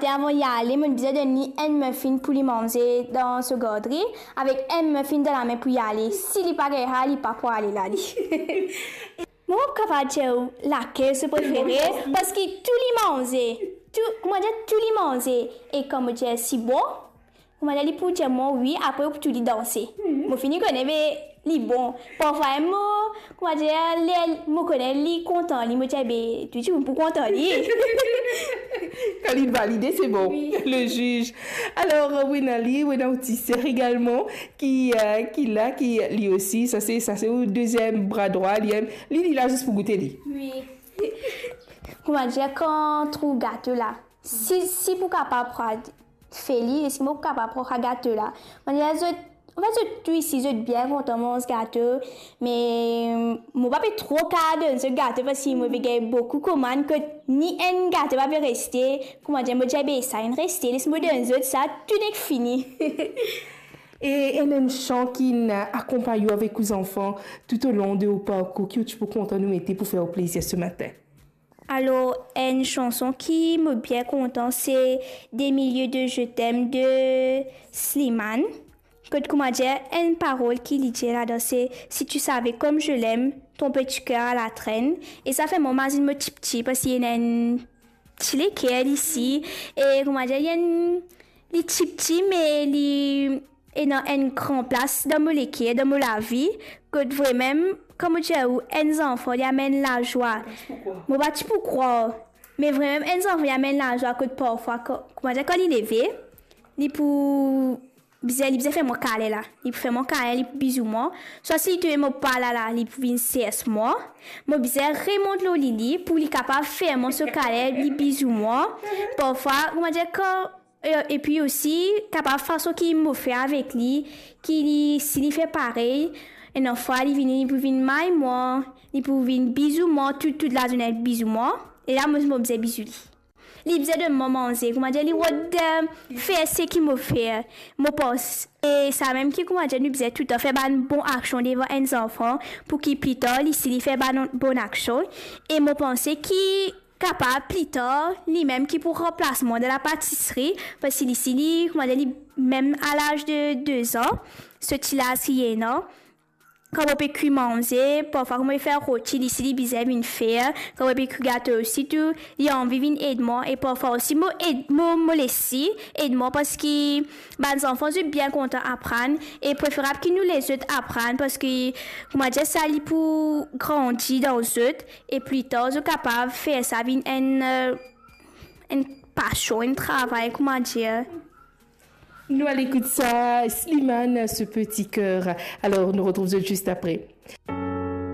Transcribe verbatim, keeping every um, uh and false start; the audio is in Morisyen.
Avan li ale, mo bizin donn li enn muffin pou li manze dan so gardri, avek enn muffin dan lame pou li ale. Si li pa gagn sa, li pa pou ale la, li. Mo pa kapav dir ou lakel so prefere, parski tou li manze, tou, kouma dir, tou li manze, e kan mo dir si bon, kouma dir, li pou dir mwa wi, apre ou pou tou li danse. Mo fini kone, be, li bon. Parfwa mo, kouma dir, ler mo kone li kontan li, mo dir, be, tou dimoun pou kontan li. Kan li valide, se bon. Wi. Le juge. Alor, wi, ena li, wi, ena ou ti ser egalman, ki, euh, ki la, ki li osi, sa se, sa se ou deziem bra drwa, li, li, li la zis pou goute li. Wi. Kouma dir, kan trouv gato la, si, si pou kapav pran, fer li, eski mo pou kapav pran sa gato la? Mo dir zot, anfet, zot tou isi, zot bien kontan manz gato, me mo pa pe tro kapav donn zot gato, parski mo pe gagn boukou komann, kot ni enn gato pa pe reste. Kouma dir, mo dir, be, sa inn reste, les mo donn zot sa, tou nek fini. E enn, enn san ki'nn akonpagn ou avek ou zanfan toutolon de ou parkour, ki ou ti pou kontan nou mete pou fer ou plezir se matin? Alor, enn sanson ki mo bien kontan, se Des milliers de je t'aime de Slimane. Kot, kouma dir, enn parol ki li dir ladan, se, "Si tu savais comme je l'aime, ton petit cœur à la traîne." E sa fer mwa mazinn mo tipti, parski ena enn ti leker isi. E, kouma dir, li enn, li tipti, me li ena enn gran plas dan mo leker, dan mo lavi, kot vremem, kan mo dir ou, enn zanfan, li amenn lazwa. Mo pa ti pou krwar. Me vremem, enn zanfan, li amenn lazwa, kot parfwa, kan, kouma dir, kan li leve, li pou bizin, li bizin fer mwa kale la. Li pou fer mwa kale, li pou bizou mwa. Swa si li trouv mo pa la la, li pou vinn sers mwa. Mo bizin remont lor li, li, pou li kapav fer mwa so kale, li bizou mwa. Parfwa, kouma dir, kan, e, epi osi, kapav fason ki mo fer avek li, ki li, si li fer parey, enn fwa li vini, li pou vinn may mwa, li pou vinn bizou mwa, tou, tou lazorne bizou mwa. E la, mo, mo bizin bizou li. Li bizin donn mwa manze, kouma dir, li rod, eh, fer seki mo fer. Mo pans, e sa mem ki, kouma dir, nou bizin toultan fer bann bon aksion devan enn zanfan, pou ki pli tar, li, si li fer bann bon aksion. E mo panse ki kapav pli tar, limem ki pou ranplas mwa dan lapatisri, parski li, si li, kouma dir, li mem a laz de de zan, so ti laz ki li ena, kan mo pe kwi manze, parfwa kan mo pe fer roti, li, si li bizin vinn fer, kan mo pe kwi gato osi tou, li anvi vinn ed mwa, e parfwa osi mo ed, mo, mo les li ed mwa, parski bann zanfan, zot bien kontan aprann, e preferab ki nou les zot aprann, parski, kouma dir sa, li pou grandi dan zot, e pli tar, zot kapav fer sa vinn enn, eh, enn pasion, enn travay, kouma dir. Nou al ekout sa, Slimane, Ce petit cœur. Alor, nou retrouv zot zis apre.